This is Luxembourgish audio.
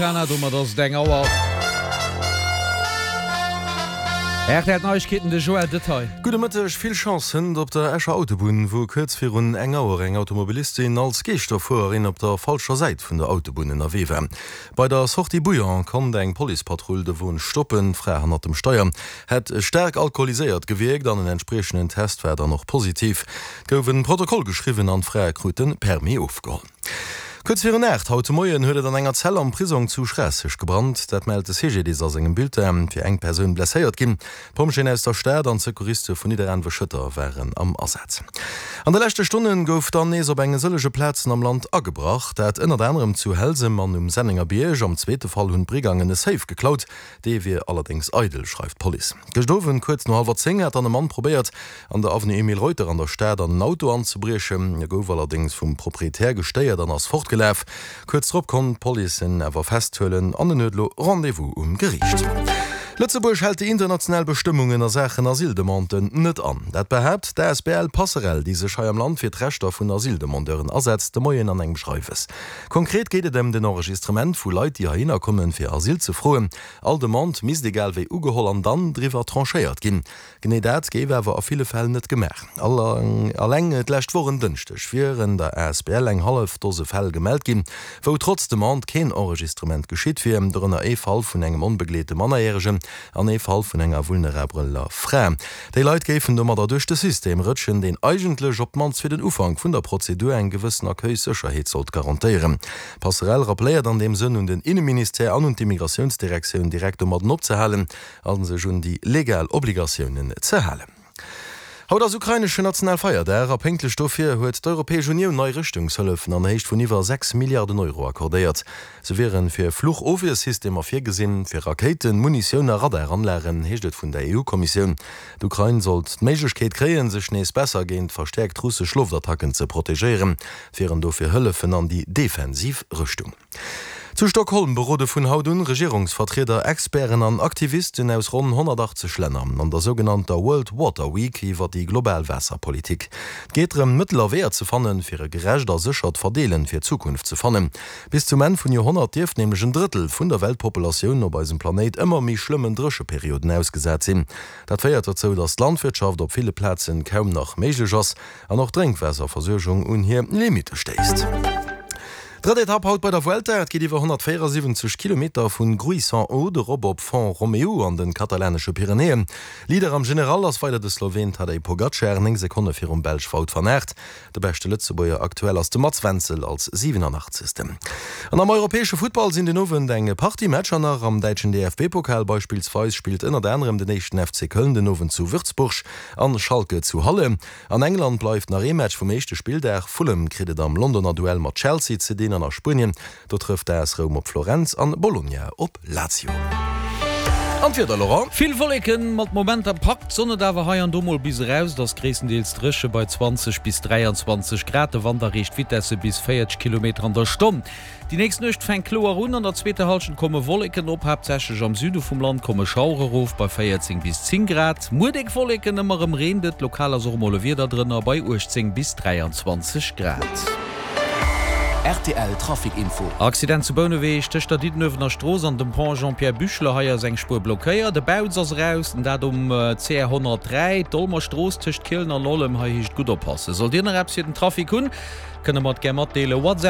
Jana, domat ass et eng Auer. Rtl Neiegkeeten, de Joël Detail. Gudde Mëtteg. Vill Chance hënt op der Escher Autobunn, wou kuerz virun eng Auer eng Automobilistin als Geeschterfuererin op der falscher Säit vun der Autobunn ënnerwee war. Bei der Sortie Bouillon konnt eng Policepatrull de Won stoppen. D'Fra hannert dem Steier hätt staark alkoholiséiert gewierkt an en entspriechenden Test war dann och positiv. Et gouf e Protokoll geschriwwen an d'Fra krut de Permis ofgeholl. Kuerz virun 8 haut de Moien huet et an enger Zell am Prisong zu Schraasseg gebrannt. Dat mellt de CGDIS a sengem Bulletin. Et wier eng Persoun blesséiert ginn. D'Pompjeeën aus der Stad an d'Secouriste vun Nidderaanwe-Schëtter waren am Asaz. An de leschte Stonne gouf dann nees op enge sëllege Plazen am Land agebrach. Dat ënnert anerem zu Helsem an um Sennengerbierg. Am zweete Fall hunn d'Brigangen e Safe geklaut. Dee wier allerdéngs eidel, schreift d'Police. Gëscht Owend kuerz no hallwer 10 hat dann e Mann probéiert, an der Avenue Emile Reuter an der Stad an en Auto anzebriechen. E gouf allerdéngs vum Proprietär gestéiert an ass fortgelaf. Kuerz drop konnt d'Police en awer festhuelen an en huet elo Rendez-vous um Geriicht. Lëtzebuerg hält déi international Bestëmmungen a Saachen Asyldemanden net an. Dat behaapt d'ASBL Passerell, déi sech hei am Land fir d'Rechter vun Asyldemandeuren asetzt, de Moien an engem Schreiwes. Konkret geet et ëm den Enregistrement vu Leit, déi heihinner kommen, fir Asyl ze froen. All Demande misst egal wéi ugeholl an dann driwwer tranchéiert ginn. Genee dat géif awer a ville Fäll net gemaach. Alleng d'lescht Woch en Dënschdeg wieren der asbl eng hallef Dose Fäll gemellt ginn, wou trotz Demande keen Enregistrement geschitt wier, dorënner ee Fall vun engem onbegleete Mannerjäregen an ee Fall vun enger vulnerabeler Fra. Déi Leit géifen domadder duerch de System rëtschen, deen eigentlech op d'mannst fir den Ufank vun der Prozedur eng gewëssen Accueilssécherheet sollt garantéieren. D'Passerell rappelléiert an deem Sënn un den Inneministère an un d'Immigratiounsdirektioun, direkt domadden opzehalen a sech un déi legal Obligatiounen ze halen. Haut ass ukraineschen Nationalfeierdag a pénktlech dofir huet d'Europäesch Unioun nei Rëschtungshëllefen an Héicht vun iwwer 6 Milliarden Euro accordéiert. Se wieren fir Fluchofwiersystemer virgesinn, fir Rakéiten, Munitioun a Radaranlagen, heescht et vun der EU-Kommissioun. D'Ukrain sollt d'Méiglechkeet kréien, sech nees besser géint verstäerkt russesch Loftattacken ze protegéieren. Et wieren dofir Hëllefen an déi defensiv Rëschtung. Zu Stockholm berode vun haut un Regierungsvertrieder, Experten an Aktivisten aus ronn 180 Länner an der sougenannter World Water Week iwwer déi global Waasserpolitik. Et geet drëm, Mëttel a Weeër ze fannen, fir e gerecht a séchert Verdeelen fir d'Zukunft ze fannen. Bis zum Enn vun Joerhonnert dierft nämlech en Drëttel vun der Weltpopulatioun op eisem Planéit ëmmer méi schlëmmen Drécheperioden ausgesat sinn. Dat féiert dozou, datt d'Landwirtschaft op ville Plazen kaum nach méiglech ass an och d'Drénkwaasserversuergung un hir Limitte stéisst. Drëtt Etapp haut bei der Vuelta. Et geet iwwer 174 Kilometer vun Gruissan-Aude erop op Font-Romeu an de katalanesche Pyrenäen. Leader am General ass weider de Sloween Tadej Pogacar, 9 Sekonne virum Belsch Wout van Aert. De beschte Lëtzebuerger aktuell ass de Mats Wenzel als 87. An am europäesche Futtball sinn den Owend eng Partie Matcher nach. Am däitschen DFB-Pokal beispillsweis spillt ënnert anerem den éischten FC Köln den Owend zu Würzburg an Schalke zu Halle. An England bleift nach ee Match vum éischte Spilldag. Fulham kritt et am Londoner Duell mat Chelsea ze dinn an a Spuenien, do trëfft d'AS Roum op Florenz an Bologna op Lazio. An d'Wieder, Laurent? Vill Wolleken, mat Momenter packt d'Sonn et awer hei an do mol bis eraus. Et ass gréisstendeels dréche bei 20 bis 23 Grad. De Wand erreecht Vitesse bis 40 Kilometer an der Stonn. Déi nächst Nuecht fänkt kloer un, an der zweeter Hallschent komme Wolleken op, haaptsächlech am Süde vum Land komme Schauere erof bei 14 bis 10 Grad. Muer déck Wolleken, ëmmer erëm reent et, lokal ass och emol e Wieder drënner bei 18 bis 23 Grad. Rtl Trafic Info. Accident zu Bouneweg tëscht der Diddenuewener Strooss an dem Pont Jean-Pierre Büchler. Hei ass eng Spuer blockéiert. E Bautz ass eraus, dat um CR 103, d'Olmer Strooss tëscht Kielen an Ollem. Hei heescht et gutt oppassen. Sollt Dir nach eppes fir den Trafic hunn, kënne mer et gär matdeelen. WhatsApp.